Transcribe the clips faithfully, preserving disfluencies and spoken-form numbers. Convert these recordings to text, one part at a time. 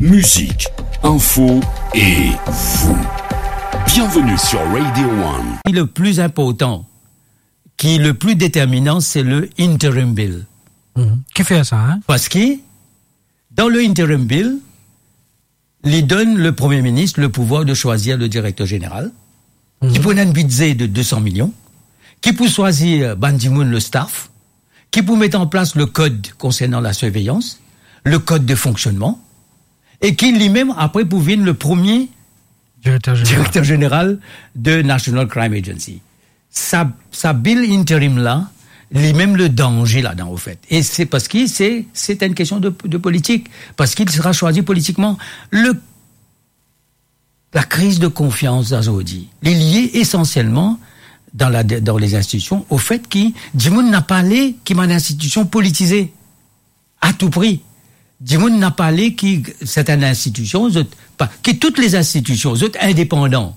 Musique, info et vous. Bienvenue sur Radio One. Le plus important, qui est le plus déterminant, c'est le interim bill. Mhm. Ki fer sa, hein? Parce que dans le interim bill, li donn le Premier ministre le pouvoir de choisir le directeur général, mhm, ki pou ena enn bidze de deux cents millions, ki pou swazir bann dimoun, le staff, ki pou met an plas le code concernant la surveillance, le code de fonctionnement, e ki limem apre pou vinn le premier Directeur général. Directeur général de National Crime Agency. Sa, sa bill interim la, limem le danze ladan, au fait. E se parski se, se enn kestion de, de politik, parski li sera choisi politiquement. Le, la kriz de konfians azordi, li lie esansielman dan la, dan les institutions, au fait ki dimoun napa le ki bann institusion politize a tou pri. Dimoun napa le ki sertenn institusion, zot pa, ki tout les institutions, zot indepandan,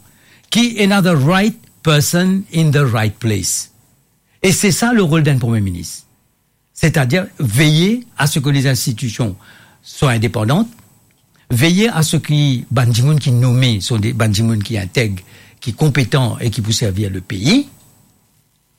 ki ena the right person in the right place. E se sa le rol d'un premier ministre. C'est-à-dire veiller à ce que les institutions soient indépendantes, veiller à ce que bann dimoun ki nome, son de, bann dimoun ki integ, ki konpetan e ki pou servi le pei.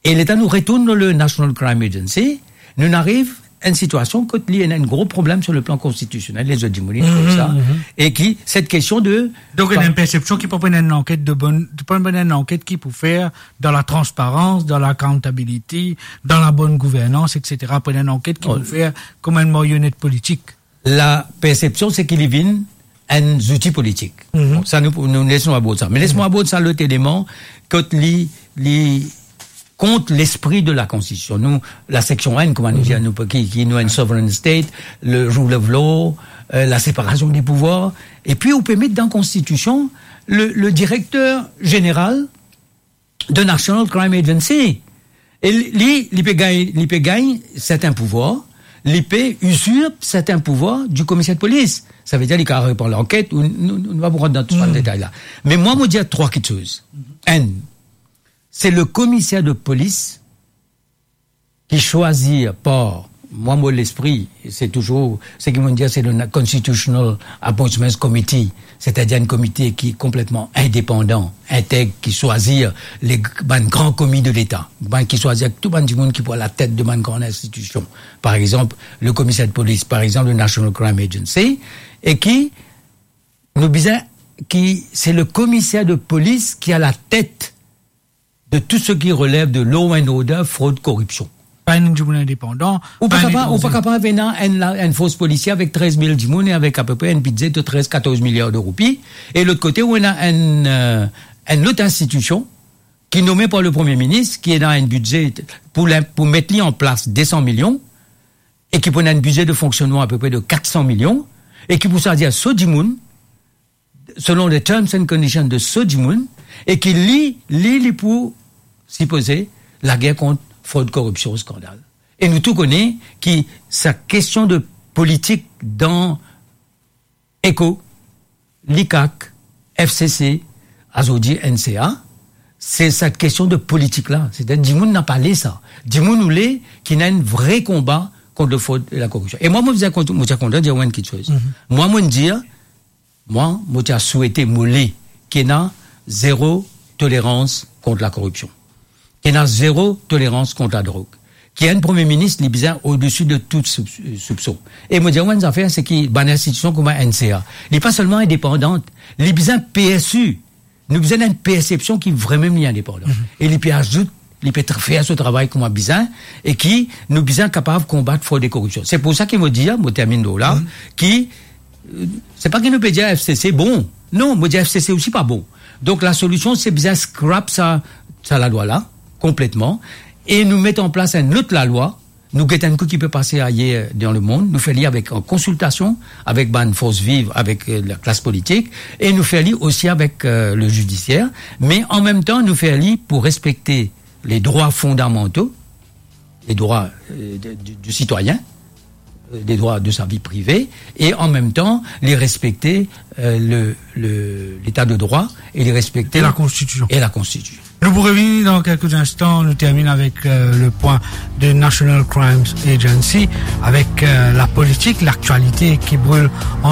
E letan nou retourn dan le National Crime Agency, nou ariv enn sitiasion kot li ena enn gro problem sur le plan constitutionnel, lezot dimoun trouv sa, mhm, e ki, cette question de... Donk, ena enn persepsion ki pa pou ena enn anket de bonn, pa pou ena enn anket ki pou fer dan la transparans, dan la accountability, dan la bonn gouvernans, et cetera. Pa pou ena enn anket ki pou fer kouma enn marionet politik. La persepsion, se ki li vinn enn zouti politik. Mhm. Bon, sa nou, nou les nou about sa. Me les mwa about sa, lot eleman, kot li, li kont lespri de la Konstitision. Nou, la seksion enn, kouma nou dir, nou, ki, ki nou enn sovereign state, le rule of law, euh, la séparation des pouvoirs. E pi, ou pe met dan Konstitision le, le directeur général de National Crime Agency. E li, li pe gagn, li pe gagn serten pouvwar, li pe usurp serten pouvwar du commissaire de police. Sa ve dir li kapav repran lanket, ou nou, nou, nou pa pou rant dan tou sa, hmm, detay la. Me mwa, mo dir trwa kiksoz. Enn, se le commissaire de police ki swazir par, mwa, mo lespri, se touzour, seki mo dir, se le na-, Constitutional Appointments Committee, setadir enn komite ki konpletman indepandan, integ, ki swazir le g-, bann gran komi de Leta, bann ki swazir tou bann dimoun ki pou a la tet de bann gran institision. Par exanp, le commissaire de police, par exanp, le National Crime Agency, e ki nou bizin, ki se le commissaire de police ki a la tet de tout ce qui relève de law and order, frod, koripsion. Pa enn dimoun indepandan, ou pa kapav, ou pa kapav ena enn la, enn fors polisie avek trez mil dimoun e avek apepre enn bidze de trez, katorz miliar de roupi. E lot kote, ou ena enn, euh, enn lot institision ki nome par le Premie Minis, ki ena enn bidze pou lin-, pou met li an plas de san milion, e ki pou ena enn bidze de fonksionnman apepre de kat san milion, e ki pou swazir so dimoun, selon les terms and conditions de so dimoun, e ki li, li, li pou sipoze lager kont frod, koripsion, skandal. E nou tou kone ki sa kestion de politik dan ECHO, l'ICAC, FCC, azordi NCA, se sa kestion de politik la. Setadir dimoun napa le sa. Dimoun oule ki ena enn vre konba kont le frod e la koripsion. E mwa, mo bizin kont-, mo ti a kontan dir enn kiksoz. Mhm. Mwa, mo dir, Mwa, mo ti a swete, mo le ki ena zero tolerans kont la koripsion, ki ena zero tolerans kont la drog, ki enn Premie Minis, li bizin odesi de tout soub-, soupson. E mo dir enn zafer, se ki bann institision kouma NCA, li pa selman indepandan, li bizin PSU. Nou bizin enn persepsion ki vremem li indepandan. Mhm. E li pe azout, li pe tra-, fer so travay kouma bizin, e ki nou bizin kapav konbat frod e koripsion. Se pou sa ki mo dir, mo terminn la, mhm, ki, euh, se pa ki nou pe dir FCC bon. Non, mo dir FCC osi pa bon. Donk, la solision, se bizin scrap sa, sa lalwa la, konpletman, e nou met an plas enn lot lalwa, nou get enn kou ki pe pase ayer dan lemond, nou fer li avek, an konsiltasion avek bann fors viv, avek, euh, laklas politik, e nou fer li osi avek, euh, le zidisier, me an mem tan, nou fer li pou respekte les droits fondamentaux, les droits, euh, de, du, du citoyen, euh, les droits de sa vie privée, e an mem tan, li respekte, euh, le, le, leta de drwa, e li respekte... E la Konstitision. E la Konstitision. Nou pou revini dan kelke instan, nou termine avek, euh, le pwin de National Crimes Agency, avek, euh, la politik, laktialite ki bril an